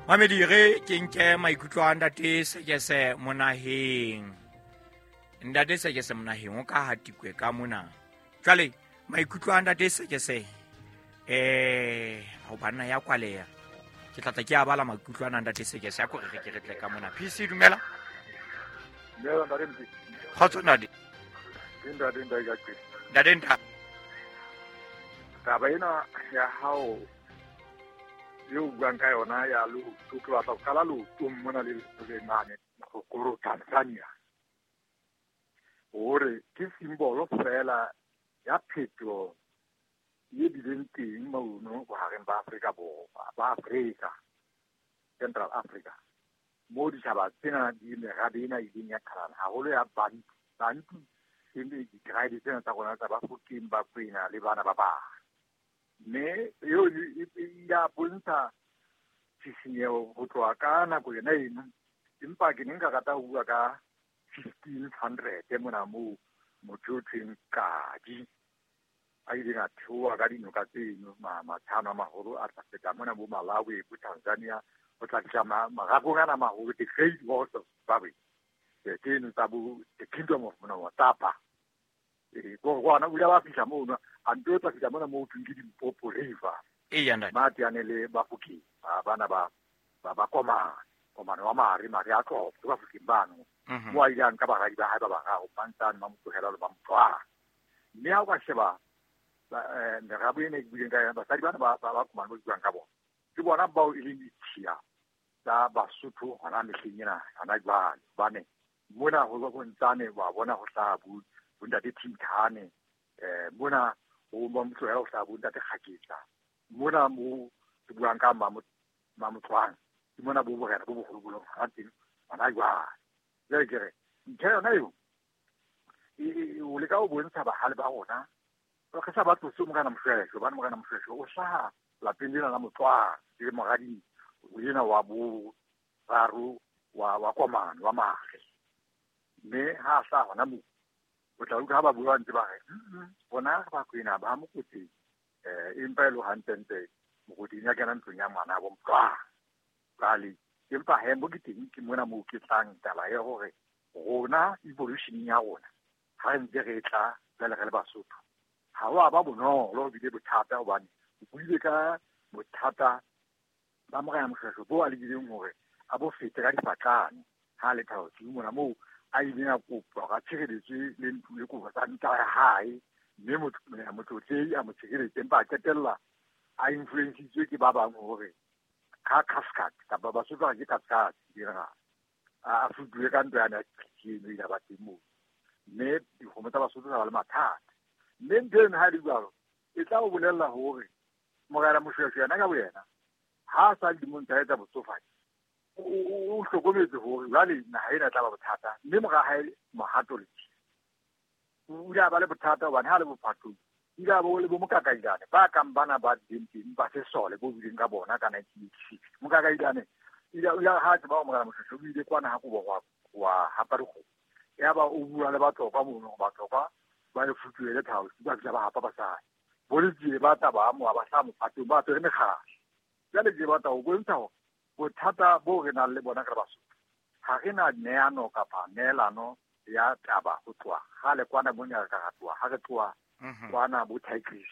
Mamedi, re ke nke maikutlo a Ntate Sekese Monaheng. Ntate Sekese Monaheng o ka hatikwe ka mona. Jwale maikutlo a Ntate Sekese ho banna ya kwaleya. Ke tlatla ke a bala maikutlo a Ntate Sekese a ko re ke re tle ka mona. PC, dumela. Dumela, Ntate Mpe. Kgotso, Ntate. Ke Ntate Ntate ka qe. Ntate Ntate. Taba ena ya hao eo buang ka yona ya leoto, ke batla ho qala leotong mona le le mane Morogoro, Tanzania, hore ke simbolo fela ya phetoho e bileng teng mono bohareng ba Afrika Borwa, ba Afrika, Central Africa, moo ditjhaba tsena di merabe ena ileng ya qhalana haholo ya Bantu. Bantu ke ditribe tsena tsa rona tsa Bafokeng, Bakwena le bana ba bang. Mme eo e ya bontsha tshisinyeho ho tloha ka nako yona eno. Empa ke ne nka rata ho bua ka 1500 mona moo motho o thweng Kadi a ileng a theoha ka dinoka tseno, matshano a maholo a tla feta mona bo Malawi, bo Tanzania, ho tla fihla marakong ana maholo, the Great Walls of Zimbabwe, tseno tsa bo the Kingdom of Motapa. Kwana o ile ba fihla mono, a nto tla fihla mona moo thweng ke Limpopo River. Eya, Ntate. Ba teane le Bafokeng, ba bana ba ba Komane, Komane wa Mare, Mare a Tlopo, ke Bafokeng bano. Mo a ile a nka baradi ba hae ba bararo, Mmantsane, Mamotlohela le Mamotlwana. Mme ha o ka sheba merabo ena e ke buileng ka yona, basadi bana ba Komane ba buang ka bona, ke bona bao e leng ditshiya tsa Basotho hona mehleng ena hona jwale. Hobane mona ho bontsane wa bona ho hlaha bo Ntate Thintane, mona ho Mamotlohela ho hlaha bo Ntate Kgaketla, mona mo ke buang ka Mamotlwana, ke mona bo borena bo boholo bo leng hona teng hona jwale. Jwale ke re ntho yona eo o leka ho bontsha bahale ba rona, re sa ba tlose Morena Moshweshwe, hobane Morena Moshweshwe o hlaha lapeng lena la Motlwana, le moradi ena wa boraro wa Komane wa Mare. Mme ha a hlaha hona moo, o tla utlwa ha ba bua ntse ba re, bona re Bakwena ba Mokoteng, empa e le hantlentle Mokoteng ya kena ntlong ya ngwana bo Motlwana. Jwale empa he mo ke teng ke mona moo ke tlang taba ya hore rona evolution ya rona ha re ntse re tla jwale re le Basotho, ha ho a ba bonolo, ho bile bothata, hobane o buile ka bothata ba Morena Moshweshwe bo a lekileng hore a bo fete ka difatlane ha le Thabo mona moo a ileng a kopa hore a tshireletswe le ntlo le kobo tsa ntwa ya hae, mme motlotlei a mo tshireletse, empa a qetella a influencitswe ke ba bang hore ka cascade kapa Basotho ba re ke cascade general a futuwe ka ntwa ya eno ile ba teng moo, mme dikgomo tsa Basotho tsa ba le mathata. Mme ntho eno ha e le jwalo e tla o bolella hore Morena Moshweshwe yena ka boyena ha a sa le dilemong tsa hae tsa botsofadi, o hlokometse hore jwale naha ena e tla ba bothata, mme mora hae Mohato Letsie o ile a ba le bothata hobane ha le bophatong o ile a bo le bo Mokakailane ba kang bana ba bileng teng ba sesole bo bileng ka bona ka 1986. Mokakailane o ile ha tseba Morena Moshweshwe o ile kwana ha kobo wa hapa dikgomo, yaba o bua le Batlokwa mono, Batlokwa ba le futuhele Thabo, ba fihla ba hapa basadi. Bo Letsie ba tla ba amoha ba hlaha mophatong ba apere mekgahla. Jwale ke batla ho bontsha hore bothata bo re nang le bona re le Basotho, ha re na neano kapa neelano ya taba ho tloha kgale kwana mona re ka ratoha ha re tloha kwana bo Tigris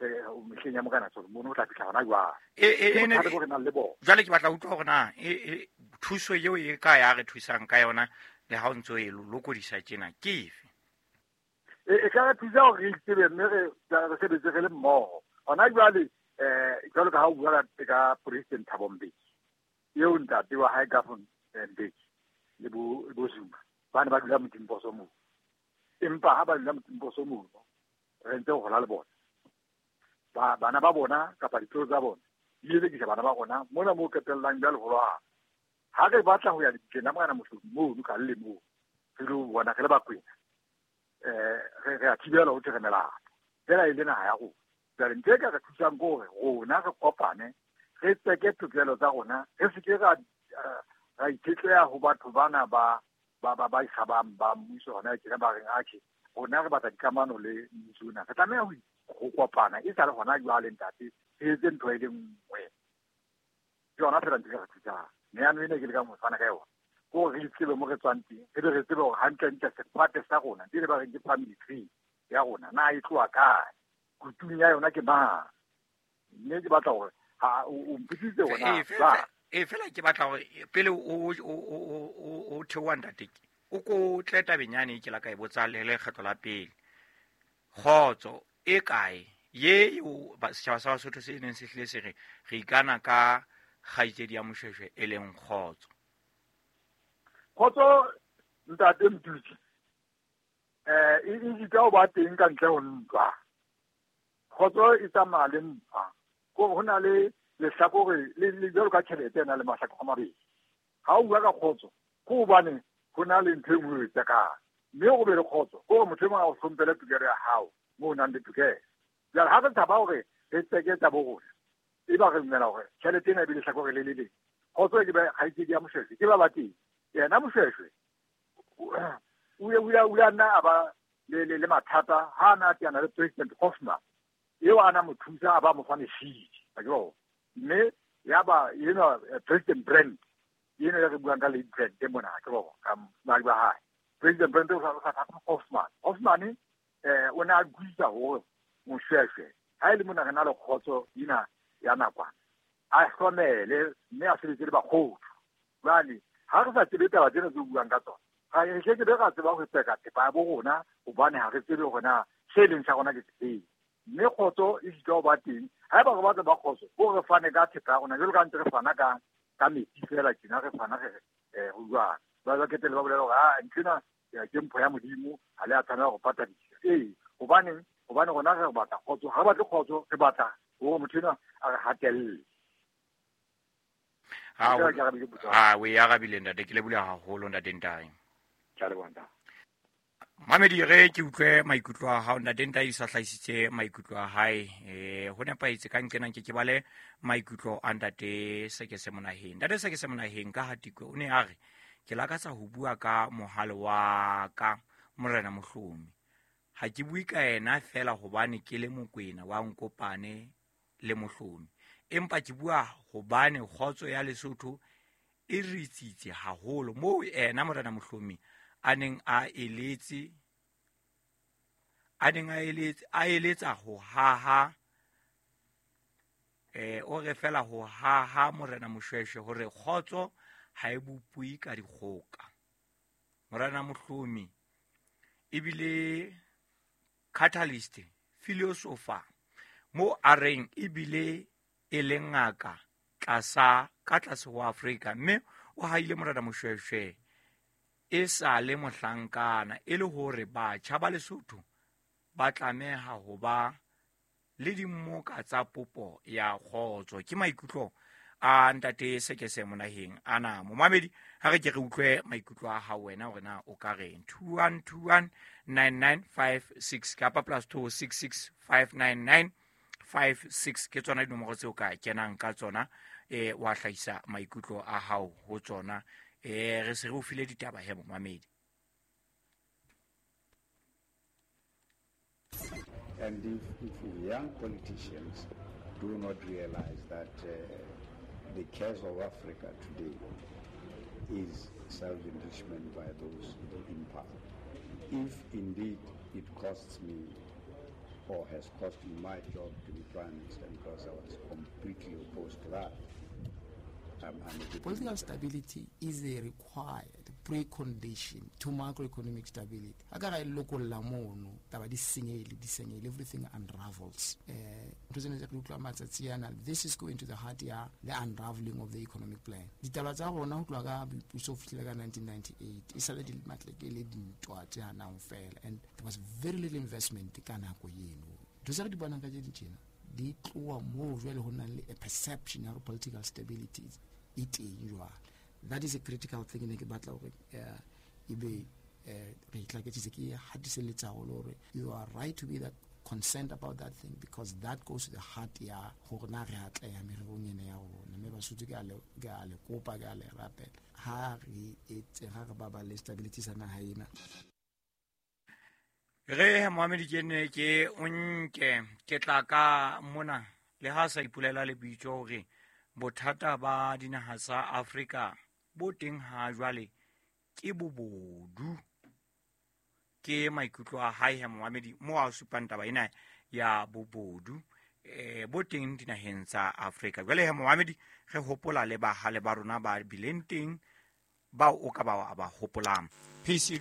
mehleng ya Morena Solomon ho tla fihla hona jwale. Ke bothata bo re nang le bona. Jwale ke batla ho utlwa hore na thuso eo e ka ya re thusang ka yona le ha o ntso e lokodisa tjena ke efe? E ka re thusa hore re itsebe mme re sebetse re le mmoho. Hona jwale jwalo ka ha o bua ka President Thabo Mbeki, eo ntate wa hae Govan Mbeki le bo Zuma ba ne ba dula Motimposo moo. Empa ha ba dula Motimposo moo, re ntse ho hola le bona. Bana ba bona kapa ditloholo tsa bona di elekisa bana ba rona mona moo qetellang jwale ho lwana. Ha re batla ho ya lebitleng la Morena Mohlodi mono ka le moo, re lo bona re le Bakwena, re a thibela ho thwe re melato. Fela e le naha ya rona. Jwale ntho e ka re thusang ke hore rona re kopane, re tseke tokelo tsa rona, re se ke ra itshetleha ho batho bana ba ikgabang ba mmuso hona tjena ba reng atjhe, rona re batla dikamano le mmuso ona. Re tlameha ho kopana e sa le hona jwale ntate, re etse ntho e le nngwe. Ke yona fela ntho e ka re thusang. Neano ena ke lekang ho fana ka yona ke hore re itsebe mo re tswang teng, re be re tsebe hore hantlentle sefate sa rona di le ba reng ke family tree ya rona na e tloha kae, kutung ya yona ke mang. Mme ke batla hore ha o mpotsitse hore na e fela ke batla hore pele o theoha ntate o ko tle tabeng yane ke la ka e botsa le lekgetlo la pele. Kgotso e kae ye eo setjhaba sa Basotho se neng se hlile se re re ikana ka kgaitsedi ya Moshweshwe e leng kgotso? Kgotso ntate Mtuti e itse ho ba teng ka ntle ho ntwa. Kgotso e tsamaya le ntwa. Ko ho na le lehlakore le jwalo ka tjhelete e na le mahlakore a mabedi. Ha o bua ka kgotso ke hobane ho na le ntho e nngwe e tsekang, mme o be le kgotso ke hore motho e mong a o hlomphele tokelo ya hao moo o nang le tokelo. Jwale ha re tshaba hore re tseke tsa bo rona, e ba re dumela hore tjhelete ena e be lehlakore le le leng. Kgotso ke ba kgaitsedi ya Moshweshwe ke ba ba teng. Yena Moshweshwe o ile nna a ba le mathata ha a na teana le President Hoffman eo a na mo thusa a ba mo fa mešidi, mme ya ba ena President Brand ena ya re buang ka late Brand mona ke bo ka madi ba hae. President Brand o sa Hoffman. Hoffman o ne a guisa hore Moshweshwe ha e le mona re na le kgotso ena ya nakwana a hlomele mme a sebetse le bakgotso. Jwale ha re sa tsebe taba tsena tse buang ka tsona, ga re ke be ra tseba ho tseka thepa ya bo rona, hobane ha re tsebe hore na se leng sa rona ke sefeng. Mme kgotso e sitwa ho ba teng haeba re batla ba kgotso, ko re fane ka thepa ya rona jwalo ka ntse re fana ka metsi fela tjena, re fana re ho jwang. Ba ketele ba bolela hore a nthwena ke mpho ya Modimo, ha le a tshwanela ho patadisa. Ee, hobane rona re batla kgotso, ha re batle kgotso, re batla hore motho enwa a re hatelle. Ha o e arabile ntate, ke lebohile haholo ntate Ntai. Ke a leboha ntate. Mamedi re ke utlwe maikutlo a hao ntate Ntai sa hlahisitse maikutlo a hae. Ho nepahetse ka nqenang ke bale maikutlo a ntate Sekese Monaheng. Ntate Sekese Monaheng ka Hatikwe o ne a re ke lakatsa ho bua ka mohale wa ka Morena Mohlomi. Ha ke bue ka yena fela hobane ke le Mokwena wa Nkopane le Mohlomi, empa ke bua hobane kgotso ya Lesotho e ritsitse haholo moo yena Morena Mohlomi a neng a eletsa ho haha o re fela ho haha Morena Moshweshwe hore kgotso ha e bopue ka dikgoka. Morena Mohlomi ebile catalyst philosopher mo a reng ebile e le ngaka ka tlase ho Afrika, mme o haile Morena Moshweshwe e sa le mohlankana e le hore batjha ba Lesotho ba tlameha ho ba le dimmoka tsa popo ya kgotso. Ke maikutlo a ntate Sekese Monaheng ana. Momamedi, ha re ke re utlwe maikutlo a hao wena hore na o ka reng. 2121 9956 kapa +266 599 56 ke tsona dinomoro tseo ka kenang ka tsona, wa hlahisa maikutlo a hao ho tsona. Re se re o file ditaba he momamedi. And if young politicians do not realize that the case of Africa today is self-enrichment by those in power. If indeed it costs me or has cost me my job to be prime minister, because I was completely opposed to that. Political stability is a required precondition to macroeconomic stability. Everything unravels. This is going to the heart ya the unraveling of the economic plan. Ditaba tsa rona ho tloha ka boipuso ho fihlela ka 1998 e sale di matleke dintwa tse hanang fela, and there was very little investment ka nako eno. Ntho tse re di bonang ka tjena di tloha moo jwale ho nang le a perception ya political stability e teng jwale. That is a critical thing ne ke batla hore ebe re itlaketsitse ke hatiselletsa haholo hore you are right to be that concerned about that thing, because that goes to the heart ya hore na re atleha mererong ena ya rona. Mme Basotho ke a le kopa, ke a le rapela, ha re etse ha re baballe stability sa naha ena. Re Mohamedi ke ne ke o nke ke tla ka mona le ha sa ipolela lebitso hore Bothata ba dinaha tsa Afrika bo teng ha jwale ke bobodu. Ke maikutlo a hae he momamedi mo a supang taba ena ya bobodu bo teng dinaheng tsa Afrika. Jwale he momamedi re hopola le bahale ba rona ba bileng teng bao o ka ba wa ba hopolang. PC.